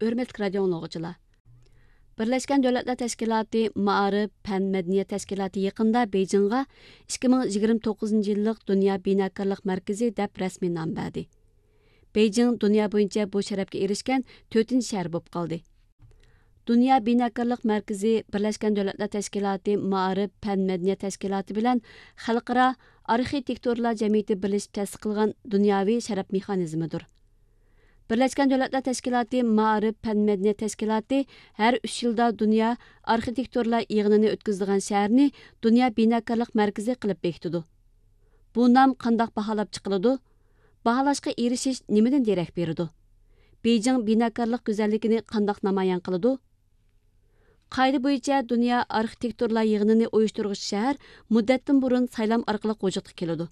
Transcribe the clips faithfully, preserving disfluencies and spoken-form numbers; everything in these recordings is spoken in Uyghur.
ھۆرمەتلىك رادىئو ئاڭلىغۇچىلار! بىرلەشكەن دۆلەتلەر تەشكىلاتى مائارىپ، پەن، مەدەنىيەت تەشكىلاتى يېقىندا بېيجىڭغا ئىككى مىڭ يىگىرمە توققۇزىنچى يىللىق دۇنيا بىناكارلىق مەركىزى دەپ رەسمىي نام بەردى. بېيجىڭ دۇنيا بويىچە بۇ شەرەپكە ئېرىشكەن تۆتىنچى شەھەر بولۇپ قالدى. دۇنيا بىناكارلىق مەركىزى بىرلەشكەن دۆلەتلەر تەشكىلاتى مائارىپ، پەن، مەدەنىيەت تەشكىلاتى بىلەن خەلقئارا ئارخىتېكتورلار جەمئىيىتى بىرلىشىپ تەسىس قىلغان دۇنياۋى شەرەپ مېخانىزمىدۇر. بىرلەشكەن دۆلەتلەر تەشكىلاتى مائارىپ، پەن، مەدەنىيەت تەشكىلاتى ھەر ئۈچ يىلدا دۇنيا ئارخىتېكتورلار يىغىنىنى ئۆتكۈزىدىغان شەھەرنى دۇنيا بىناكارلىق مەركىزى قىلىپ بېكىتىدۇ. بۇ نام قانداق باھالاپ چىقىلىدۇ؟ باھالاشقا ئېرىشىش نېمىدىن دېرەك بېرىدۇ؟ بېيجىڭ بىناكارلىق گۈزەللىكىنى قانداق نامايان قىلىدۇ؟ قائىدە بويىچە دۇنيا ئارخىتېكتورلار يىغىنىنى ئۇيۇشتۇرغۇچى شەھەر مۇددەتتىن بۇرۇن سايلام ئارقىلىق ۋۇجۇدقا كېلىدۇ.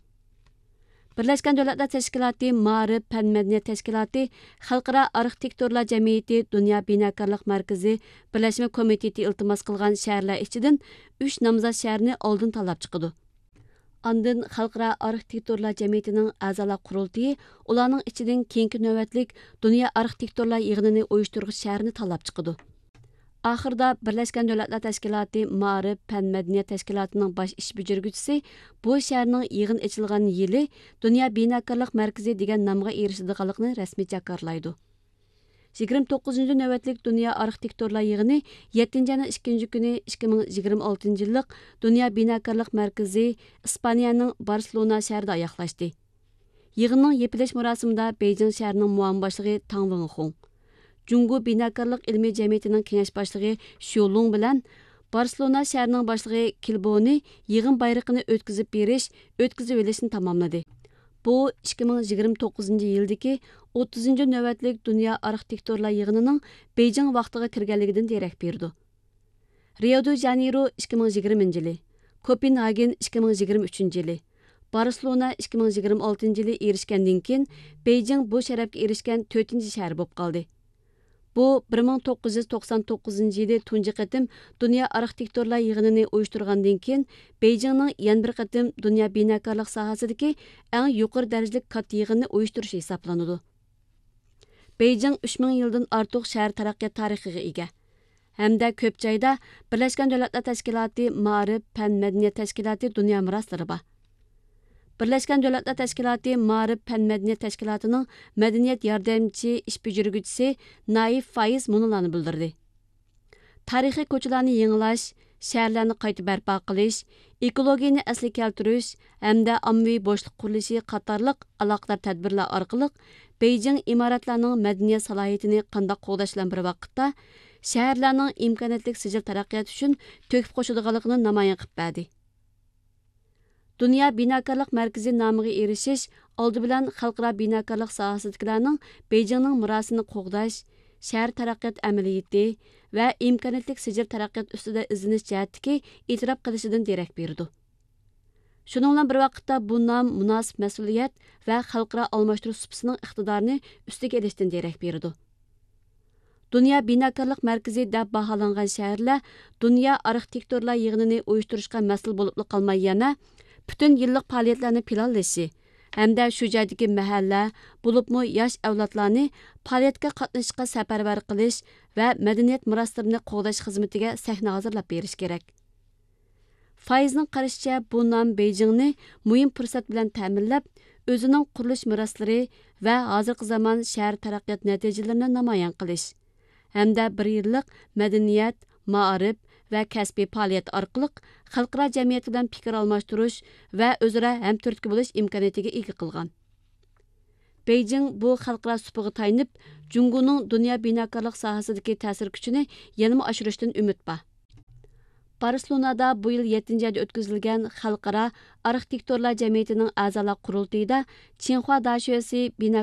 بىرلەشكەن دۆلەتلەر تەشكىلاتى مائارىپ، پەن، مەدەنىيەت تەشكىلاتى خەلقئارا ئارخىتېكتورلار جەمئىيىتى دۇنيا بىناكارلىق مەركىزى بىرلەشمە كومىتېتى ئىلتىماس قىلغان شەھەرلەر ئىچىدىن ئۈچ نامزات شەھەرنى ئالدىن تاللاپ چىقىدۇ. ئاندىن خەلقئارا ئارخىتېكتورلار جەمئىيىتىنىڭ ئەزالار قۇرۇلتىيى ئۇلارنىڭ ئىچىدىن كېيىنكى نۆۋەتلىك دۇنيا ئارخىتېكتورلار يىغىنىنى ئۇيۇشتۇرغۇچى شەھەرنى تاللاپ چىقىدۇ. ئاخىرىدا بىرلەشكەن دۆلەتلەر تەشكىلاتى مائارىپ، پەن، مەدەنىيەت تەشكىلاتىنىڭ باش ئىش بېجىرگۈچىسى بۇ شەھەرنىڭ يىغىن ئېچىلغان يىلى دۇنيا بىناكارلىق مەركىزى دېگەن نامغا ئېرىشىدىغانلىقىنى رەسمىي جاكارلايدۇ. يىگىرمە توققۇزىنچى نۆۋەتلىك دۇنيا ئارخىتېكتورلار يىغىنى يەتتىنچى ئاينىڭ ئىككىنچى كۈنى ئىككى مىڭ يىگىرمە ئالتىنچى يىللىق دۇنيا بىناكارلىق مەركىزى ئىسپانىيەنىڭ بارسېلونا شەھىرىدە ئاياغلاشتى. يىغىننىڭ يېپىلىش مۇراسىمىدا بېيجىڭ شەھىرىنىڭ مۇئاۋىن باشلىقى تاڭ ۋېڭخۇڭ، جۇڭگو بىناكارلىق ئىلمىي جەمئىيىتىنىڭ كېڭەش باشلىقى شيۇ لۇڭ بىلەن بارسېلونا شەھىرىنىڭ باشلىقى كىلبونى يىغىن بايرىقىنى ئۆتكۈزۈپ بېرىش، ئۆتكۈزۈۋېلىشنى تاماملىدى. بۇ ئىككى مىڭ يىگىرمە توققۇزىنچى يىلدىكى ئوتتۇزىنچى نۆۋەتلىك دۇنيا ئارخىتېكتورلار يىغىنىنىڭ بېيجىڭ ۋاقتىغا كىرگەنلىكىدىن دېرەك بېرىدۇ. رىيو دې ژانېيرو ئىككى مىڭ يىگىرمىنچى يىلى، كوپېنھاگېن ئىككى مىڭ يىگىرمە ئۈچىنچى يىلى، بارسېلونا ئىككى مىڭ يىگىرمە ئالتىنچى يىلى ئېرىشكەندىن كېيىن، بېيجىڭ بۇ شەرەپكە ئېرىشكەن تۆتىنچى شەھەر بولۇپ قالدى. بۇ بىر مىڭ توققۇز يۈز توقسان توققۇزىنچى يىلى تۇنجى قېتىم دۇنيا ئارخىتېكتورلار يىغىنىنى ئۇيۇشتۇرغاندىن كېيىن، بېيجىڭنىڭ يەنە بىر قېتىم دۇنيا بىناكارلىق ساھەسىدىكى ئەڭ يۇقىرى دەرىجىلىك كاتتا يىغىننى ئۇيۇشتۇرۇشى ھېسابلىنىدۇ. بېيجىڭ ئۈچ مىڭ يىلدىن ئارتۇق شەھەر تەرەققىيات تارىخىغا ئىگە ھەمدە كۆپ جايدا بىرلەشكەن دۆلەتلەر تەشكىلاتى مائارىپ، پەن، مەدەنىيەت تەشكىلاتى دۇنيا مىراسلىرى بار. بىرلەشكەن دۆلەتلەر تەشكىلاتى مائارىپ، پەن، مەدەنىيەت تەشكىلاتىنىڭ مەدەنىيەت ياردەمچى ئىش بېجىرگۈچىسى نايىف فايىز مۇنۇلارنى بىلدۈردى: تارىخىي كوچىلارنى يېڭىلاش، شەھەرلەرنى قايتا بەرپا قىلىش، ئېكولوگىيىنى ئەسلىگە كەلتۈرۈش ھەمدە ئاممىۋى بوشلۇق قۇرۇلۇشى قاتارلىق ئالاقىدار تەدبىرلەر ئارقىلىق بېيجىڭ ئىمارەتلەرنىڭ مەدەنىيەت سالاھىيىتىنى قانداق قوغداش بىلەن بىر ۋاقىتتا، شەھەرلەرنىڭ ئىمكانىيەتلىك سىجىل تەرەققىيات ئۈچۈن تۆھپە قوشىدىغانلىقىنى نامايان قىلىپ بەردى. دۇنيا بىناكارلىق مەركىزى نامىغا ئېرىشىش ئالدى بىلەن خەلقئارا بىناكارلىق ساھەسىدىكىلەرنىڭ بېيجىڭنىڭ مىراسىنى قوغداش، شەھەر تەرەققىيات ئەمەلىيىتى ۋە ئىمكانىيەتلىك سىجىل تەرەققىيات ئۈستىدە ئىزدىنىش جەھەتتىكى ئېتىراپ قىلىشىدىن دېرەك بېرىدۇ. شۇنىڭ بىلەن بىر ۋاقىتتا، بۇ نام مۇناسىپ مەسئۇلىيەت ۋە خەلقئارا ئالماشتۇرۇش سۇپىسىنىڭ ئىقتىدارىنى ئۈستىگە ئېلىشتىن دېرەك بېرىدۇ. دۇنيا بىناكارلىق مەركىزى دەپ باھالانغان شەھەرلەر دۇنيا ئارخىتېكتورلار يىغىنىنى ئۇيۇشتۇرۇشقا مەسئۇل بولۇپلا قالماي، يەنە پۈتۈن يىللىق پائالىيەتلەرنى پىلانلىشى ھەمدە شۇ جايدىكى مەھەللە، بولۇپمۇ ياش ئەۋلادلارنى پائالىيەتكە قاتنىشىشقا سەپەرۋەر قىلىش ۋە مەدەنىيەت مىراسلىرىنى قوغداش خىزمىتىگە سەھنە ھازىرلاپ بېرىش كېرەك. فايزنىڭ قارىشىچە، بۇ نام بېيجىڭنى مۇھىم پۇرسەت بىلەن تەمىنلەپ، ئۆزىنىڭ قۇرۇلۇش مىراسلىرى ۋە ھازىرقى زامان شەھەر تەرەققىيات نەتىجىلىرىنى نامايان قىلىش ھەمدە بىر يىللىق مەدەنىيەت، مائارىپ ۋە كەسپىي پائالىيەت ئارقىلىق خەلقئارا جەمئىيەت بىلەن پىكىر ئالماشتۇرۇش ۋە ئۆزئارا ھەمتۈرتكە بولۇش ئىمكانىيىتىگە ئىگە قىلغان. بېيجىڭ بۇ خەلقئارا سۇپىغا تايىنىپ، جۇڭگونىڭ دۇنيا بىناكارلىق ساھەسىدىكى تەسىر كۈچىنى يەنىمۇ ئاشۇرۇشتىن ئۈمىد بار. بارسېلونادا بۇ يىل يەتتىنچى ئايدا ئۆتكۈزۈلگەن خەلقئارا ئارخىتېكتورلار جەمئىيىتىنىڭ ئەزالار قۇرۇلتىيىدا چىڭخۇا داشۆسى بىنا